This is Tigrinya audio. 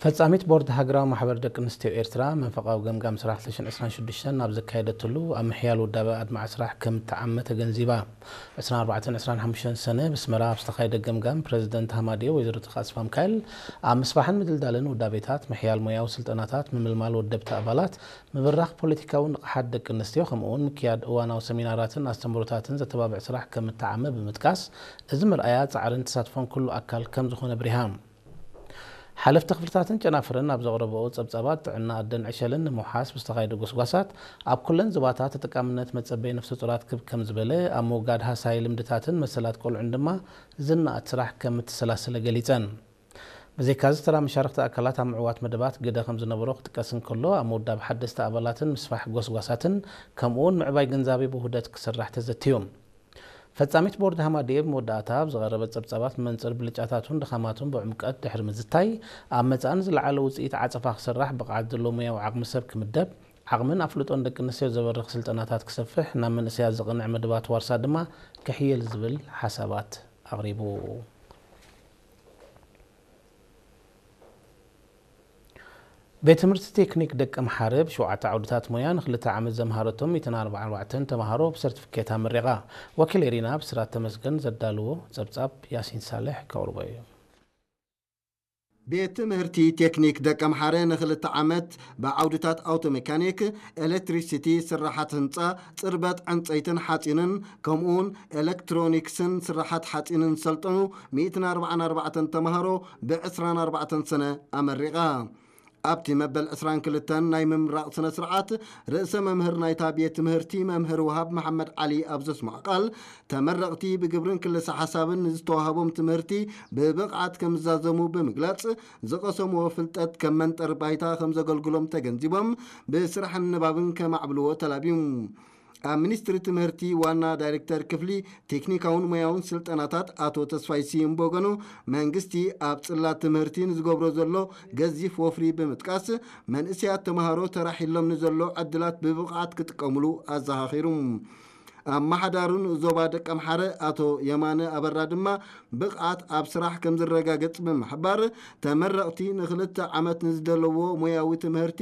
ፈጻሚት ቦርድ ሃገራዊ ማሕበር ደቂ ኣንስትዮ ኤርትራ መንፈቓዊ ገምጋም ስራሕ ክልተ ሽሕን ዕስራን ሽዱሽተን ናብ ዘካየደትሉ ኣብ ምሕያል ውዳበ ኣድማዒ ስራሕ ከም እትዓመ ተገንዚባ። ዕስራን ኣርባዕተን ዕስራን ሓሙሽተን ሰነ ብስመራ ኣብ ዝተኻየደ ገምጋም ፕረዚደንት ሃማድኤ ወይዘሮ ተኽለ ኣስፋ ሚካኤል ኣብ ምስፋሕን ምድልዳልን ውዳቤታት፣ ምሕያል ሞያዊ ስልጠናታት፣ ምምልማል ወደብቲ ኣባላት፣ ምብራኽ ፖለቲካዊ ንቕሓት ደቂ ኣንስትዮ ከምኡውን ምክያድ እዋናዊ ሰሚናራትን ኣስተምህሮታትን ዘተባብዕ ስራሕ ከም እትዓመ ብምጥቃስ፣ እዚ መርኣያ ጻዕርን ተሳትፎን ኩሉ ኣካል ከም ዝኾነ ኣብሪሃ። ሓለፍቲ ክፍልታትን ጨናፍርን ኣብ ዘቕረብኦ ጸብጻባት፣ ጥዕና ኣደን ዕሸልን ንምውሓስ ብዝተኻየደ ጎስጓሳት ኣብ ኩለን ዞባታት ተጠቃምነት መጸበይ ነፍሰ ጡራት ክብ ከም ዝበለ፣ ኣብ ምውጋድ ሃሳይ ልምድታትን መሰላት ቆልዑን ድማ ዝነኣድ ስራሕ ከም እተሰላሰለ ገሊጸን። ብዘይካዚ፣ ተራ መሻርኽቲ ኣካላት ኣብ ምዕዋት መደባት ግደ ከም ዝነበሮ ክጥቀስ እንከሎ፣ ኣብ ምውዳብ ሓደስቲ ኣባላትን ምስፋሕ ጎስጓሳትን ከምኡውን ምዕባይ ግንዛቤ ብውህደት ክስራሕ ተዘትዩ። ፈጻሚት ቦርድ ሃማድኤ ብመወዳእታ ኣብ ዝቐረበ ጸብጻባት፣ ብመንጽር ብልጫታቱን ድኻማቱን ብዕምቀት ድሕሪ ምዝታይ፣ ኣብ መጻኢ ንዝለዓለ ውጽኢት ዓጸፋ ክስራሕ ብቕዓት ዘለዎ ሞያዊ ዓቕሚ ሰብ ክምደብ፣ ዓቕምን ኣፍልጦን ደቂ ኣንስትዮ ዘበርኽ ስልጠናታት ክሰፍሕ፣ ናብ መንእሰያት ዘቕንዕ መደባት ዋርሳ ድማ ክሕየል ዝብል ሓሳባት ኣቕሪቡ። ቤት ትምህርቲ ቴክኒክ ደቂ ኣምሓረ ብሸውዓተ ዓውድታት ሞያ ንክልተ ዓመት ዘምሃረቶም ሚእትን ኣርባዓን ኣርባዕተን ተምሃሮ ብሰርቲፊኬት ኣመሪቓ። ወኪል ኤሪና ብስራት ተመስገን ዘዳልዎ ጸብጻብ ያሲን ሳልሕ ከቕርቦ እዩ። ቤት ትምህርቲ ቴክኒክ ደቂ ኣምሓረ ንክልተ ዓመት ብዓውድታት ኣውቶ ሜካኒክ፣ ኤሌክትሪሲቲ፣ ስራሓት ህንፃ፣ ፅርበት ዕንፀይትን ሓፂንን ከምኡውን ኤሌክትሮኒክስን ስራሓት ሓፂንን ዝሰልጠኑ ሚእትን ኣርባዓን ኣርባዕተን ተምሃሮ ብ ዕስራን ኣርባዕተን ሰነ ኣመሪቓ። ኣብቲ መበል ዕስራን ክልተን ናይ ምምራቕ ስነ ስርዓት ርእሰ መምህር ናይታ ቤት ትምህርቲ መምህር ወሃብ መሓመድ ዓሊ ኣብ ዘስምዖ ቃል፣ ተመረቕቲ ብግብርን ክልሰ ሓሳብን ንዝተዋህቦም ትምህርቲ ብብቕዓት ከም ዝዛዘሙ ብምግላጽ፣ ዝቐሰምዎ ፍልጠት ከም መንጠር ባይታ ከም ዘገልግሎም ተገንዚቦም፣ ብስራሕን ንባብን ከማዕብልዎ ተላብዩ። ኣብ ሚኒስትሪ ትምህርቲ ዋና ዳይሬክተር ክፍሊ ቴክኒካውን ሞያውን ስልጠናታት ኣቶ ተስፋይ ስዩም ብወገኑ፣ መንግስቲ ኣብ ጽላት ትምህርቲ ንዝገብሮ ዘሎ ገዚፍ ወፍሪ ብምጥቃስ፣ መንእሰያት ተምሃሮ ተራሒሎም ንዘሎ ዕድላት ብብቕዓት ክጥቀምሉ ኣዘኻኺሩ። ኣመሓዳሩን ዞባ ደቀምሓረ ኣቶ የማነ ኣበራ ድማ፣ ብቕዓት ኣብ ስራሕ ከም ዝረጋገጽ ብምሕባር፣ ተመረቕቲ ንክልተ ዓመት ንዝደለዎ ሞያዊ ትምህርቲ